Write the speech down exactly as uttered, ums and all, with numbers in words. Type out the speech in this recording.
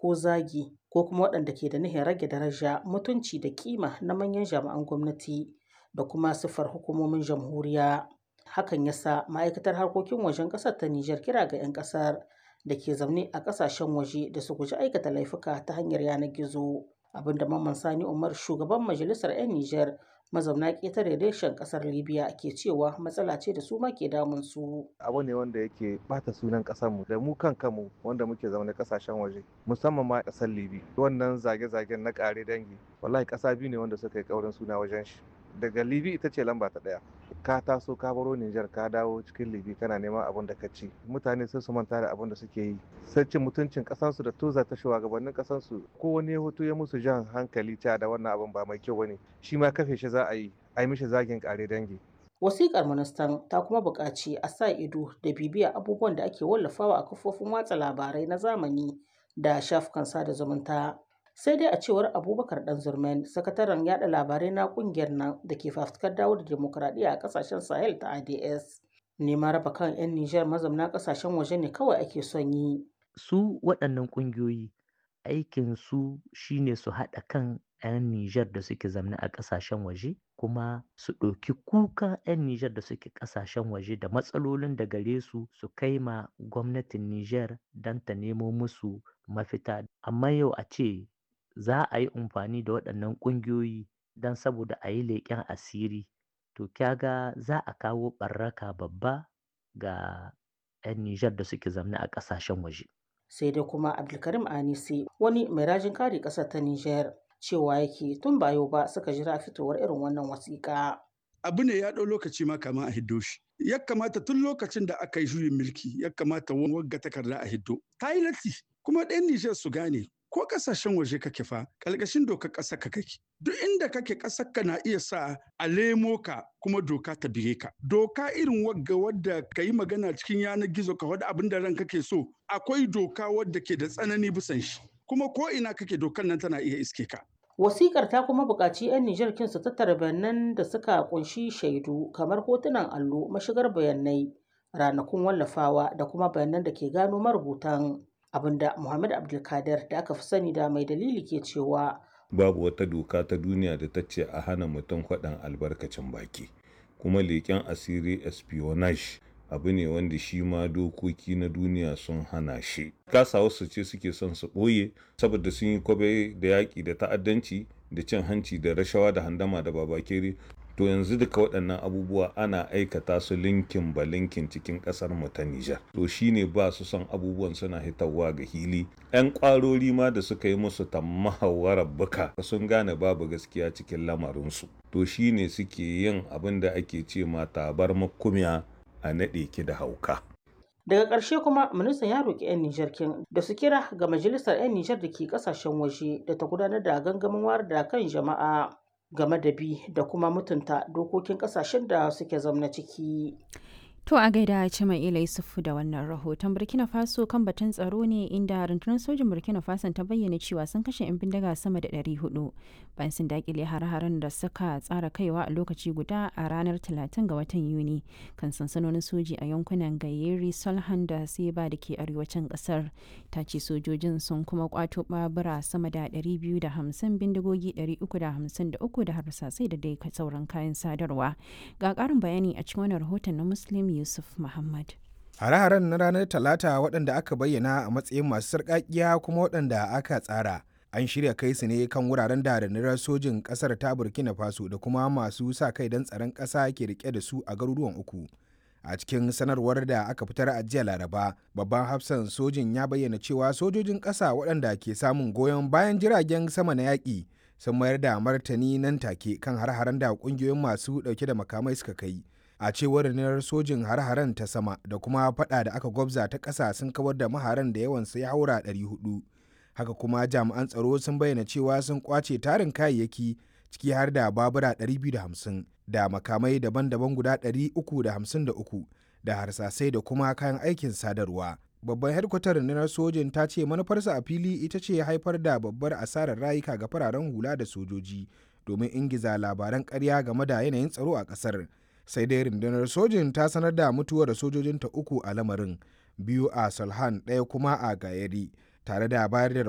ko zagi ko kuma waɗanda ke da nihin rage daraja, mutunci da kima na manyan jami'an gwamnati da kuma siffar hukumomin jamhuriya. Hakan ya sa ma'aikatar harkokin wajen ƙasar ta Nijar kira ga 'yan ƙasar da ke zaune a ƙasashen waje da su guji aikata laifuka ta hanyar yanar gizo. Abinda Mamman Sani Umar shugaban majalisar 'yan Nijar mazauna ƙetare reshen ƙasar Libya ke cewa matsala ce da su ma ke damun su. Abu ne wanda yake bata sunan ƙasarmu da mu kan kanmu wanda muke zaune ƙasashen waje musamman ma ƙasar Libya. Wannan zage-zagen na ƙare dangi wallahi ƙasa biyu ne wanda suka yi ƙaurin suna wajen shi. Daga Libya ita ce lamba ta ɗaya. Ka taso ka baro Nijar ka dawo cikin Libya kana neman abin da ka ci. Mutane sai su manta da abin da suke yi. Sai cin mutuncin ƙasansu da toza ta shugabannin ƙasansu. Ko wani ya hoto ya musu jan hankali cewa da wannan abin ba mai kyau bane. Shi ma kafe shi za a yi, a yi mishi zagin ƙare dangi. Wasiƙar ministan ta kuma buƙaci a sa ido da bibiya abubuwan da ake wallafawa a kafofin watsa labarai na zamani da shafukan sada zumunta. Sai dai a cewar Abubakar Ɗanzurmen, sakataren yada labarai na ƙungiyar nan da ke fafutukar dawo da dimokuraɗiyya a ƙasashen Sahel ta A D S. Neman raba kan 'yan Nijar mazauna ƙasashen waje ne kawai ake son yi. Su waɗannan ƙungiyoyi aikinsu shine su haɗa kan 'yan Nijar da suke zamne a ƙasashen waje kuma su ɗauki kukan 'yan Nijar da suke ƙasashen waje da matsalolin da gare su su kai ma gwamnatin Nijar don ta nemo musu mafita. Amma yau a ce za a yi amfani da waɗannan ƙungiyoyi don saboda a yi leƙen asiri, to kya ga za a kawo ɓaraka babba ga 'yan Nijar da suke zamne a ƙasashen waje. Sai dai kuma Abdulkarim Anisi wani mai rajin kare ƙasar ta Nijar cewa yake tun ba yau ba suka jira fitowar irin wannan wasiƙa. Abu ne ya ɗau lokaci ma kama a hiddo shi. Ya kamata tun lokacin da aka yi juyin mulki ya kamata wagga takarda a hiddo. Ta yi latti kuma ɗan Nijar su gane ko ƙasashen waje kake fa ƙalƙashin dokar ƙasar ka kake. Duk inda kake ƙasar ka na iya sa a lemo ka kuma doka ta bige ka. Doka irin wagga wadda ka yi magana cikin yanar gizo ka faɗi abin da ranka ke so akwai doka wadda ke da tsanani bisan shi. Kuma ko ina kake dokar nan tana iya iske ka. Wasikar ta kuma buƙaci 'yan Nijar kin su tattara bayanan da suka kunshi shaidu kamar hotunan allo, mashigar bayanai, ranakun wallafawa da kuma bayanan da ke gano marubutan. Abinda Muhammad Abdulkadir da aka fi sani da mai dalili ke cewa. Babu wata doka ta duniya da ta ce a hana mutum faɗan albarkacin baki. Kuma leƙen asiri espionage abu ne wanda shi ma dokoki na duniya sun hana shi. Kasa wasu ce suke son su ɓoye saboda sun yi kwabe da yaƙi da ta'addanci da cin hanci da rashawa da handama da babakere. To yanzu duka waɗannan abubuwa ana aikata su linkin ba linkin cikin ƙasar mu ta Nijar. To shine ba su son abubuwan suna hitawa ga hili. 'Yan ƙwarori ma da suka yi musu tammahawarar buka sun gane babu gaskiya cikin lamarinsu. To shine suke yin abin da ake ce ma tabar makumiya a naɗe ki da hauka. Daga ƙarshe kuma ministan ya roƙi 'yan Nijar kin da su kira ga majalisar 'yan Nijar da ke ƙasashen waje da ta gudanar da gangamin wayar da kan jama'a game da bi da kuma mutunta dokokin ƙasashen da suke zamna ciki. To a gaida Cima'ila Yusufu da wannan rahoton. Burkina Faso kan batun tsaro ne inda rundunar sojin Burkina Faso ta bayyana cewa sun kashe 'yan bindiga sama da ɗari huɗu bayan sun dakile har-haren da suka tsara kaiwa a lokaci guda a ranar talatin ga watan Yuni kan sansanonin soji a yankunan Gayeri, Solhan da Seba da ke arewacin kasar. Ta ce sojojin sun kuma kwato babura sama da ɗari biyu da hamsin, bindigogi ɗari uku da hamsin da uku da harsasai da dai sauran kayan sadarwa. Ga ƙarin bayani a cikin wannan rahoton na Muslim Yusuf Muhammad. Hare-haren na ranar Talata waɗanda aka bayyana a matsayin masu sarƙaƙiya kuma waɗanda aka tsara. An shirya kai su ne kan wuraren da rundunar sojin ƙasar ta Burkina Faso da kuma masu sa kai don tsaron ƙasa ke rike da su a garuruwan uku. A cikin sanarwar da aka fitar a jiya Laraba, babban hafsan sojin ya bayyana cewa sojojin ƙasa waɗanda ke samun goyon bayan jiragen sama na yaƙi sun mayar da martani nan take kan har-haren da ƙungiyoyin masu ɗauke da makamai suka kai. A cewar rundunar sojin, har-haren ta sama da kuma fada da aka gwabza ta ƙasa sun kawar da maharan da yawansu ya haura ɗari huɗu. Haka kuma jami'an tsaro sun bayyana cewa sun kwace tarin kayayyaki, ciki har da babura ɗari biyu da hamsin da makamai daban-daban guda ɗari uku da hamsin da uku da harsasai da kuma kayan aikin sadarwa. Babban hedkwatar rundunar sojin ta ce manufarsa a fili ita ce haifar da babbar asarar rayuka ga fararen hula da sojoji domin ingiza labaran ƙarya game da yanayin tsaro a ƙasar. Sai dai rundunar sojin ta sanar da mutuwar sojojinta uku a lamarin, biyu a Solhan, ɗaya kuma a Gayari, tare da bayar da